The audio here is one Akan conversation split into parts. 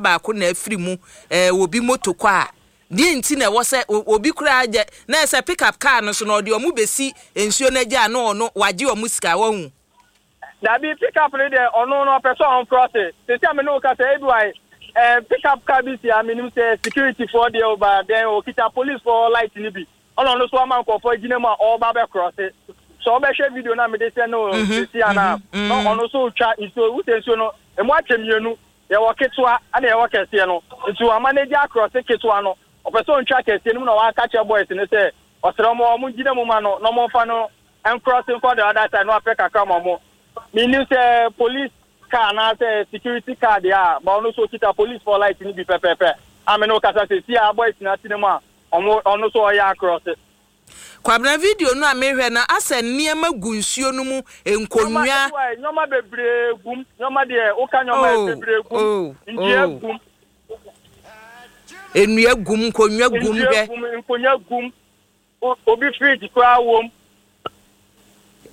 Baako na afiri mu ɛɛ obi moto kɔ a, deɛ nti na ɛwɔ sɛ obi koraa gyɛ na ɛsɛ pick up car no so na ɔde ɔmo besi nsuo no agya a na ɔno wagye ɔmo sika, wahu. Dabi, pick up no deɛ, ɔno no ɔpɛ sɛ ɔncross. Sisi a me ne wo kasa, ebi wa pick up car bi si a menim sɛ security foɔ deɛ o ba then okita police foɔ light ni bi, ɔna ɔno so ama nkurɔfoɔ gyina mu a ɔreba bɛ cross. Sɛ ɔbɛhwɛ video na mede sɛ no sisi a na ɔno so twa nsuo wusɛ nsuo no emu akyɛ mmienu, yɛwɔ ketewa ɛna yɛwɔ kɛseɛ no, nti wama n'agya across ketewa no, ɔpɛ sɛ ɔntwa kɛseɛ no mu na waka kyerɛ boys no sɛ ɔsrɛ ɔmo gyina mu ma no na ɔmo nfa no ncross nkɔ the other side na wapɛ kakra ma ɔmo. Menim sɛ police car anaasɛ security car deɛ a ba, ɔno so okita police foɔ light no bi pɛpɛɛpɛ a me ne wo kasa sɛ si a boys na ate ne mu a ɔmo ɔno so ɔyɛ across. Kwabena, video no a mehwɛ no, asɛ nneɛma gu nsuo no mu, nkonnwa. Nneɛma bebree gum, nneɛma deɛ woka nneɛma bebree gum. Nnua gum. Nnua gum, nkonnwa gum. Nnua hwɛ gum, nkonnwa gum, obi fridge koraa wom.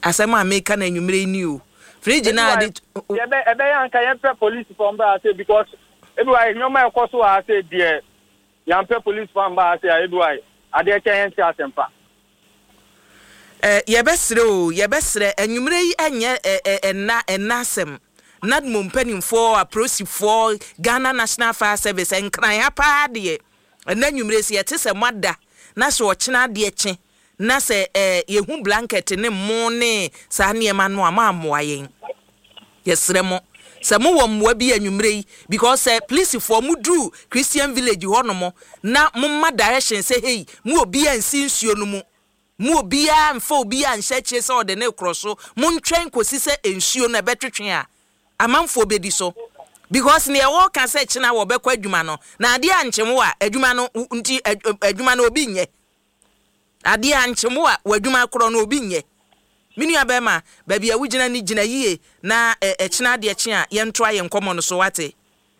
Asɛm a meka no anwummerɛ yi ni o, fridge no a de yɛbɛ ɛbɛyɛ anka yɛmpɛ police foɔ mbra ase because ebi wa nneɛma ɛkɔ so wɔ ase deɛ, yɛmpɛ police foɔ mbra ase a, ebi wa adeɛ kyɛn yɛn ti asɛmpa. Yɛbɛsrɛ o, yɛbɛsrɛ anwummerɛ yi, ɛnyɛ ɛ ɛ ɛnna ɛnna asɛm. NADMO mpanimfoɔ, apolisifoɔ, Ghana National Fire Service, Nkran ha paa deɛ, ɛnna anwummerɛ sɛ yɛte sɛ moada na sɛ ɔkyena adeɛ kye na sɛ yɛhu blanket ne mo ne saa nneɛma no a, moammoa yɛn. Yɛsrɛ mo sɛ mowɔ mmoa bi anwummerɛ yi because sɛ polisifoɔ moduru Christian Village hɔnom na momma direction sɛ, hei, mo obiara nsi nsuo no mu, mo obiara mfa obiara nhyɛ akyire sɛ ɔde ne korɔ so, montwɛn kɔsi sɛ nsuo no ɛbɛtwetwe a amanfoɔ bɛdi so, because neɛ wɔka sɛ kyena wɔbɛkɔ adwuma no na adeɛ ankyem wo a, adwuma no nti adwuma no obi nyɛ, adeɛ ankyem wo a, w'adwuma korɔ no obi nyɛ. Me nua bɛrima, baabi a wogyina no, gyina yie na ɛkyena adeɛ kye a yɛntoa yɛn nkɔmmɔ no so, wate?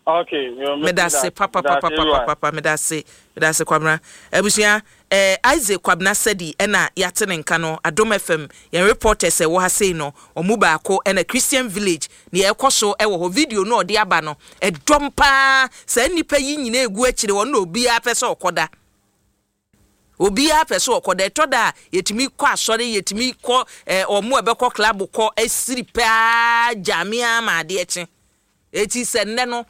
Okay. Medase papapapapapa, medase, medase, Kwabena. Abusua, Isaac Kwabena Sadi ɛna yɛate ne nka no, Adom FM yɛn reporters ɛwɔ ha sei no ɔmo baako, ɛna Christian Village nea ɛkɔ so ɛwɔ hɔ, video no ɔde aba no ɛdɔm paa. Saa nnipa yi nyinaa egu akyire wɔn na obiara pɛ sɛ ɔkɔda, obiara pɛ sɛ ɔkɔda. Ɛtɔ da a yɛtumi kɔ asɔre, yɛtumi kɔ ɔmo a ɛbɛkɔ club kɔ asiri paa gyame ama adeɛ kye eti sɛ nnɛ no.